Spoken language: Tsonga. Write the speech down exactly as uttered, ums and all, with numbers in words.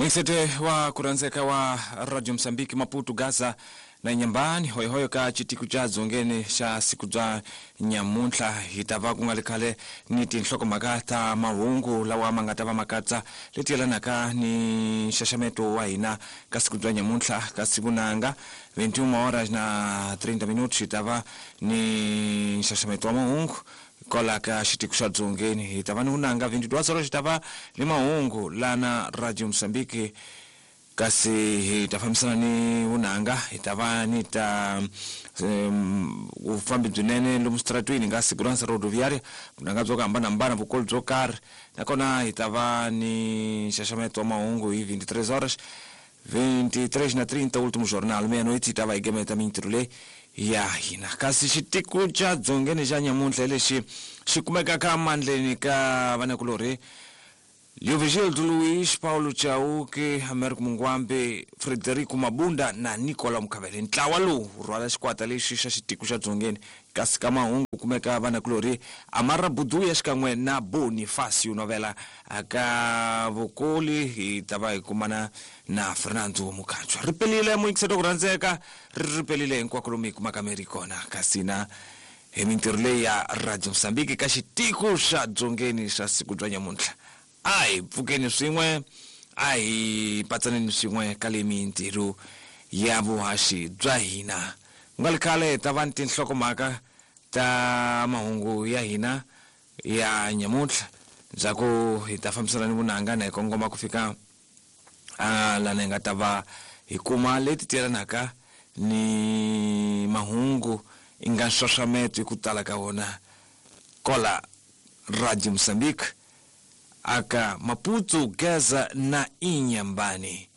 Mwengisete wa kuranzeka wa Radio Msambiki Maputo Gaza na Nyambani hoyohoyo ka chitiku cha dzongeni xa siku bya nyamuntlha hi ta va ku nga ri khale ni tinhlokomhaka ta mahungu lawa ma nga ta va ma katsa leti yelanaka ni nxaxameto wa hina ka siku bya nyamuntlha ka siku nanga veintiuna horas na treinta minutos hi ta va ni nxaxameto wa mahungu kwala ka xitiku xa dzongeni hi ta va ni vunanga veintiduas horas hi ta va ni mahungu lana Radio Msambiki kasi hi ta fambisana ni vunanga hi ta va ni ta um, vufambi byinene lomu switaratwini nga segurança rodoviária vunanga byo ku hambanahambana vukolo byo karhi nakona hi ta va ni nxaxameto wa mahungu hi veintitrês horas veintitrês na trinta último jornal meia-noite hi ta va hi gemeta mintirho leyi ya hina kasi xitiku xa dzongeni xa nyamuntlha hi lexi xi kumeka ka mandleni ka vanakulorhi Leovigildo Luiz, Paulo Chauke, Américo Mungwambe, Frederico Mabunda na Nicola Mukavele. Ntlawa lowu wu rhwala xikwata lexi xa xitiko xa dzongeni kasi ka mahungu kumeka vanakulorhi Amara Buduya xikan'we na Bonifacio Novela aka vukoli hi ta va hi kumana na Fernando Mukhanjwa. Ri pelile muyingiselo ku rhandzeka ri ri pelile hinkwako lomu hi kumaka mi ri kona kasi na hi mintirho leyi ya Radio Msambiki ka xitiko xa dzongeni xa siku bya nyamuntlha. A hi pfukeni swin'we a hi patsaneni swin'we ka le mintirho ya vuhaxi bya hina ku nga ri khale hi ta va ni tinhlokomhaka ta mahungu ya hina ya nyamuntlha ndzhaku hi ta fambisana ni vunanga na hi kongoma ku fika a lana hi nga ta va hi kuma leti tiyelanaka ni mahungu i nga nxaxameto hi ku tala ka wona kola Radio Mozambique aka Maputo, Gaza na Inhambane.